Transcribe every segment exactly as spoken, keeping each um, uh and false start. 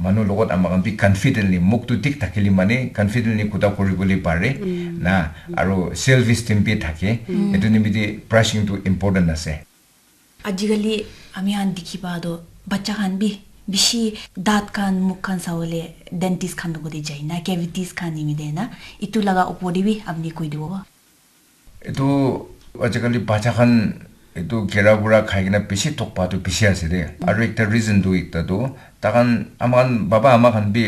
Manu logot ama khan bi confidently, muk tu thik thakile mane confidently kuta kuribole pare na, aro self esteem bi thake. Etu nimite brushing tu important ase. Ajikali ami khan dikhi pa toh bacha khan bi bishi daat khan, muk khan sawole dentist khan logot te jai na, cavities khan nimite na, etu laga opor te bi apni koi dibo. Etu ajikali bacha khan etu kera kura khai kena bishi thok pa tu bishi ase de. Aru ekta reason tu ekta tu takhan, ama khan baba ama khan bi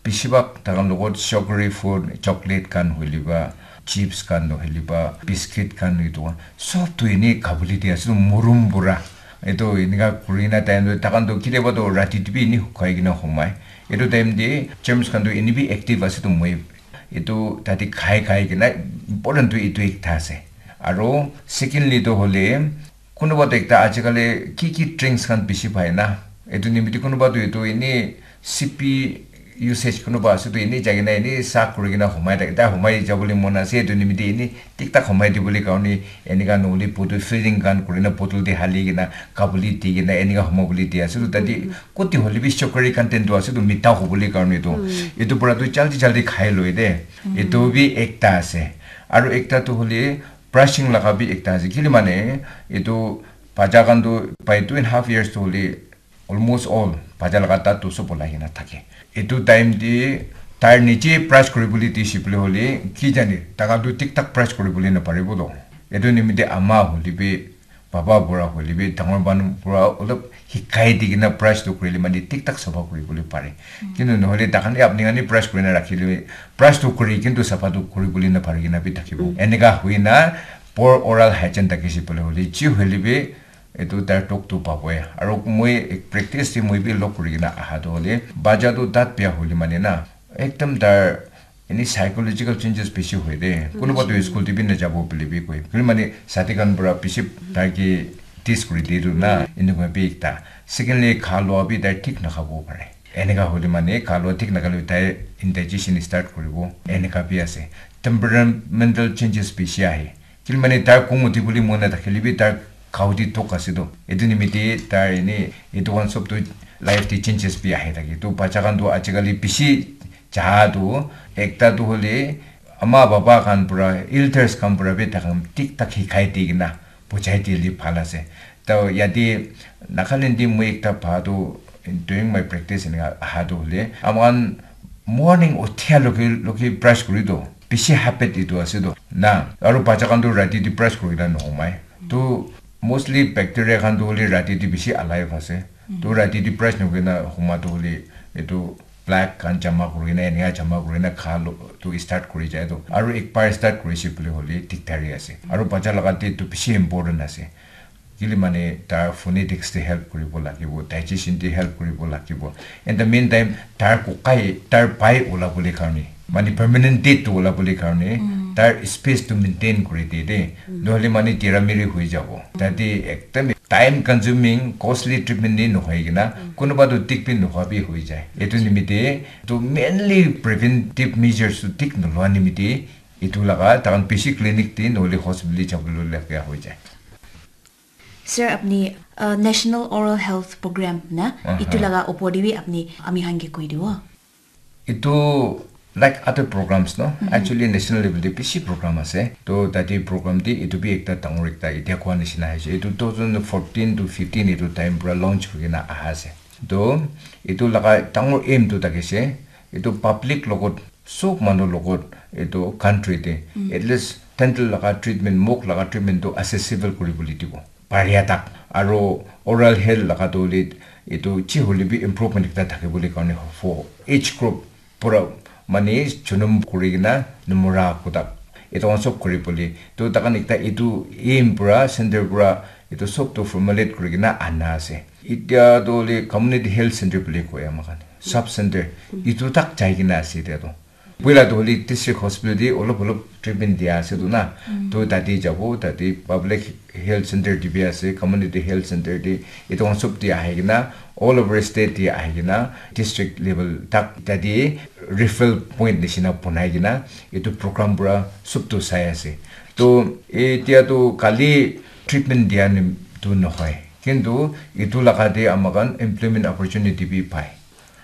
bishi bhag takhan logot sugary food, chocolate khan hoile ba, chips khan nohoile ba, biscuit khan, etu khan sob tu eni khabole di ase tu murum pura. Etu enika kurina time tu takhan tu kitiaba tu rati te bi eni hukai kena humai. Etu time te germs khan tu eni bi active ase tu moi etu tate khai khai kena important tu etu ekta ase. Aro secondly tu hole kunuba tu ekta ajikali ki ki drinks khan bishi pai na, etu nimite kunuba tu etu eni sipi usage kunuba ase tu eni jai kena eni sa kuri kena humai thake, tai humai jabole mon ase, etu nimite eni thik thak humai dibole karne enika nohole bottle filling khan kuri na bottle te hali kena khabole di kena enika humabole di ase tu tate koti hole bi sugary content tu ase tu mitha hobole karne tu etu pura tu jaldi jaldi khai loi de. Etu bi ekta ase. Aru ekta tu hole brushing laga bi ekta ase. Kile mane etu bacha khan tu by two and half years tu hole almost all bacha laga daat tu sob olai kena thake. Etu time te tai nije brush kuribole dise bole hole ki jane takhan tu thik thak brush kuribole naparibo to. Etu nimite ama hole bi baba pura hole bi dangor manu pura olop hikai di kena brush tu kurile mane thik thak sapha kuribole pare. Kintu nohole takhan ke apni khan he brush kurina rakhile, brush tu kuri kintu sapha tu kuribole napari kena bi thakibo. Enika hoina poor oral hygiene thakise bole hole ji hoile bi etu tai tok tu paboi. Aru moi ek practice te moi bi log kuri kena aha tu hole bacha tu daat bia hole mane na ekdam tar eni psychological changes bishi hoi de. Kunuba tu school te bi najabo bole bi koi. Kile mane sati khan pura bishi tai ke tease kuri de tu na, enika bi ekta. Secondly, kha lua bi tai thik nakhabo pare. Enika hole mane kha lua thik nakhale tai indigestion start kuribo. Enika bi ase. Temperamental changes bishi ahe. Kile mane tai kong uthi bole mon nathakile bi tai khao di tok ase to. Etu nimite tai eni etu khan sob tu life te changes bi ahi thake. To bacha khan tu ajikali bishi cha tu ekta tu hole ama baba khan pura, elders khan pura bi takhan thik thak hikai di kena bujai dile bhal ase. To yate Nagaland te moi ekta pa tu during my practice enika aha tu hole ama khan morning uthia loge loge brush kuri to bishi habit etu ase to na. Aru bacha khan tu rati te brush kuri kena nohomai. To mostly bacteria khan tu hole rati te bishi alive ase. To rati te brush nokuri na homa tu hole etu plaque khan jama kuri na enika jama kuri na kha lo tu start kuri jai to. Aru ek baar start kurise bole hole dikdari ase. Aru bacha laga te tu bishi important ase. Kile mane tar phonetics te help kuribo lagibo, digestion te help kuribo lagibo. In the meantime, tar kokai, tar pai ola bole karne, mane permanent teeth tu ola bole karne, tar space tu maintain kuri de de. Nohole mane tera meri hoi jabo. Tate ekdam time consuming, costly treatment ni nohoi kena, kunuba tu thik bi nohoi bi hoi jai. Etu nimite, to mainly preventive measures tu thik noloa nimite, etu laga, takhan bishi clinic te nohole hospital te jabole laga hoi jai. Sir, apni uh, National Oral Health Program na, aha, itu laga opor te bi apni ami khan ke koi dibo. Itu like other programs no, actually national level te bishi program ase. To tate program te itu bi ekta dangor ekta etia koa nishina ase. Itu two thousand fourteen to fifteen itu time pura launch kurina aha ase. To itu laga dangor aim tu thakise, itu public logot sob manu logot itu country te at least dental laga treatment, muk laga treatment tu accessible kuri bole dibo. Paria tak. Aro oral health laga tu hole itu chi hole bi improvement ekta thaki bole karne for age group pura mane junum kuri kena numura kutak itu khan sob kuri bole. To takhan ekta itu aim pura center pura itu sob tu formulate kuri kena ana ase. Itya tu hole community health center bole koi ama khan. Sub center itu tak jai kena ase itya tu. Puila tu hole district hospital te olop olop treatment dia ase tu na. To tate jabo, tate public health center te bi ase, community health center te, itu khan sob te ahi kena, all over state te ahi kena, district level tak tate referral point nishina bonai kena, itu program pura sob tu sai ase. To itya tu khali treatment dia ni tu nohoi. Kintu itu laga te ama khan employment opportunity bi pai.